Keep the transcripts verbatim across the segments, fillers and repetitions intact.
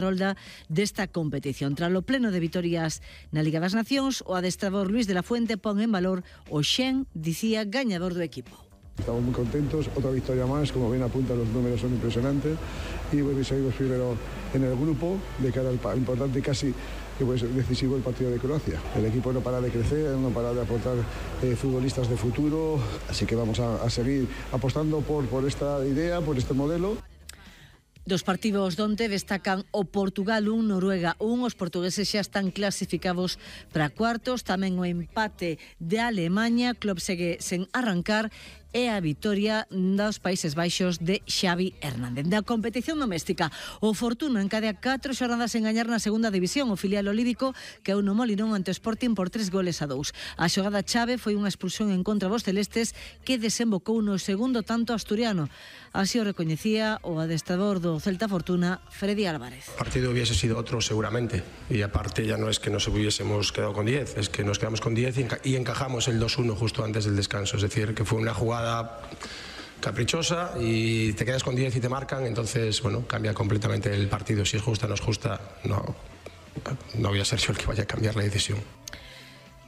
rolda desta competición. Tras o pleno de vitorias na Liga das Nacións, o adestrador Luis de la Fuente pon en valor o Xen, dicía, gañador do equipo. Estamos muy contentos, otra victoria más, como ven apunta, los números son impresionantes y bueno, seguimos primero en el grupo de cara al importante casi pues, decisivo el partido de Croacia. El equipo no para de crecer, no para de aportar eh, futbolistas de futuro, así que vamos a, a seguir apostando por, por esta idea, por este modelo. Dos partidos donde destacan o Portugal un, Noruega un. Os portugueses xa están clasificados para cuartos. Tamén o empate de Alemanha. Club segue sen arrancar. E a vitoria dos Países Baixos de Xavi Hernández. Da competición doméstica, o Fortuna encadea catro xornadas en gañar na segunda división. O filial olívico que no Molinón ante o Sporting por tres goles a dous. A xogada chave foi unha expulsión en contra dos celestes que desembocou no segundo tanto asturiano. Así o recoñecía o adestrador do Celta Fortuna, Freddy Álvarez. El partido hubiese sido otro seguramente, y aparte ya no es que nos hubiésemos quedado con diez, es que nos quedamos con diez y, enca y encajamos el dos uno justo antes del descanso, es decir, que fue una jugada caprichosa y te quedas con diez y te marcan, entonces bueno, cambia completamente el partido. Si es justa o no es justa, no, no voy a ser yo el que vaya a cambiar la decisión.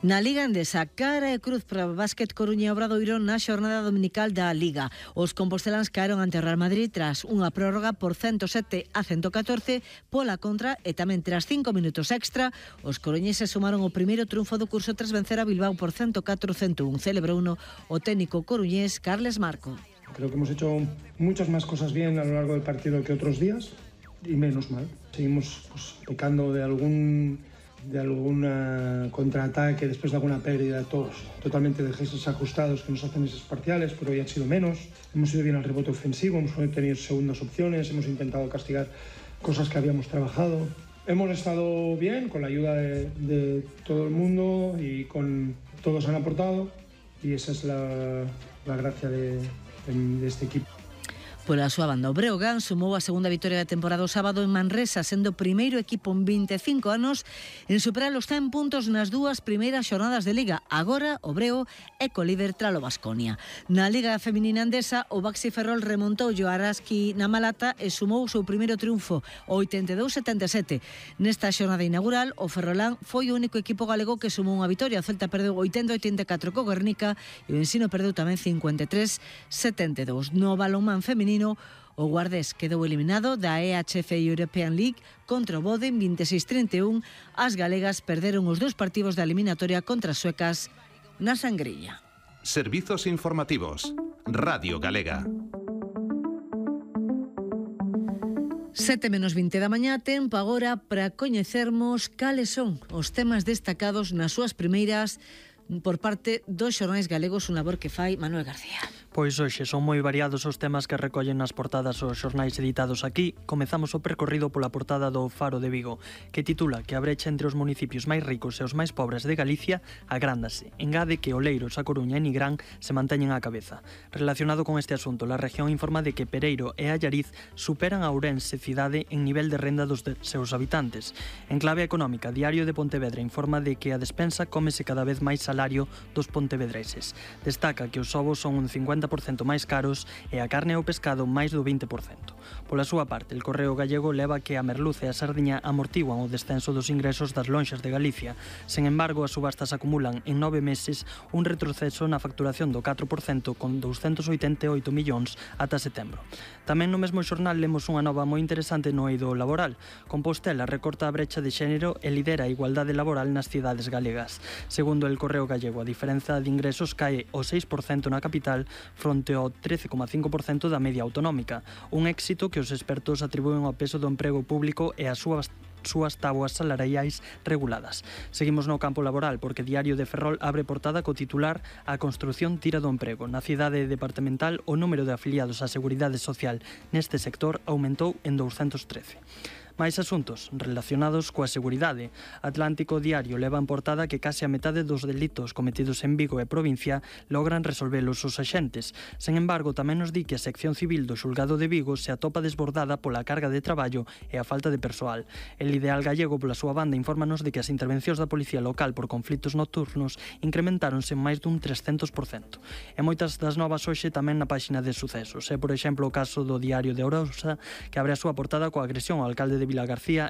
Na Liga Endesa, cara e cruz para o Básquet Coruña e Obradoiro na xornada dominical da Liga. Os composteláns caeron ante o Real Madrid tras unha prórroga por ciento sete a ciento catorce pola contra e tamén tras cinco minutos extra. Os coruñeses sumaron o primeiro triunfo do curso tras vencer a Bilbao por ciento catro a ciento un. Celebrouno o técnico coruñés Carles Marco. Creo que hemos hecho muchas más cosas bien a lo largo del partido que otros días y menos mal. Seguimos pues, pecando de algún de algún contraataque después de alguna pérdida, todos totalmente desajustados que nos hacen esos parciales, pero hoy han sido menos. Hemos ido bien al rebote ofensivo, hemos tenido segundas opciones, hemos intentado castigar cosas que habíamos trabajado. Hemos estado bien con la ayuda de, de todo el mundo y con todos han aportado y esa es la, la gracia de, de, de este equipo. Pola súa banda, o Breogán sumou a segunda vitoria da temporada o sábado en Manresa, sendo o primeiro equipo en vinte e cinco anos en superar os cen puntos nas dúas primeiras xornadas de Liga. Agora, o Breo é colíder tralo Baskonia. Na Liga Feminina Endesa, o Baxi Ferrol remontou o Araski na Malata e sumou o seu primeiro triunfo, o oitenta e dous a setenta e sete. Nesta xornada inaugural, o Ferrolán foi o único equipo galego que sumou unha vitoria. O Celta perdeu oitenta a oitenta e catro co Guernica e o Ensino perdeu tamén cincuenta e tres a setenta e dous. No balonmán feminino, o Guardés quedou eliminado da E H F European League contra o Bode en vinte e seis a trinta e un. As galegas perderon os dous partidos da eliminatoria contra as suecas na Sangrilla. Servizos informativos. Radio Galega. Sete menos vinte da mañá, tempo agora para coñecermos cales son os temas destacados nas súas primeiras por parte dos xornais galegos, un labor que fai Manuel García. Pois hoxe son moi variados os temas que recollen nas portadas os xornais editados aquí. Comezamos o percorrido pola portada do Faro de Vigo, que titula que a brecha entre os municipios máis ricos e os máis pobres de Galicia agrándase. Engade que Oleiros, A Coruña e Nigrán se manteñen á cabeza. Relacionado con este asunto, a región informa de que Pereiro e Allariz superan a Ourense cidade en nivel de renda dos de seus habitantes. En clave económica, Diario de Pontevedra informa de que a despensa cómese cada vez máis salario dos pontevedreses. Destaca que os ovos son un cincuenta por cento máis caros e a carne e o pescado máis do vinte por cento. Pola súa parte, el Correo Gallego leva que a merluza e a sardiña amortiguan o descenso dos ingresos das lonxas de Galicia. Sen embargo, as subastas acumulan en nove meses un retroceso na facturación do catro por cento con douscentos oitenta e oito millóns ata setembro. Tamén no mesmo xornal lemos unha nova moi interesante no eido laboral. Compostela recorta a brecha de xénero e lidera a igualdade laboral nas cidades galegas. Segundo el Correo Gallego, a diferenza de ingresos cae o seis por cento na capital fronte ao trece coma cinco por cento da media autonómica, un éxito que os expertos atribúen ao peso do emprego público e as súas súas tabuas salariais reguladas. Seguimos no campo laboral porque Diario de Ferrol abre portada co titular A construción tira do emprego. Na cidade departamental o número de afiliados á Seguridade Social neste sector aumentou en doscientos trece. Máis asuntos relacionados coa seguridade. Atlántico Diario leva en portada que case a metade dos delitos cometidos en Vigo e provincia logran resolvelos os axentes. Sen embargo, tamén nos di que a sección civil do xulgado de Vigo se atopa desbordada pola carga de traballo e a falta de persoal. El Ideal Gallego, pola súa banda, infórmanos de que as intervencións da Policía Local por conflitos nocturnos incrementáronse en máis dun trescentos por cento. E moitas das novas hoxe tamén na páxina de sucesos. É, por exemplo, o caso do Diario de Ourosa, que abre a súa portada coa agresión ao alcalde de de Vilagarcía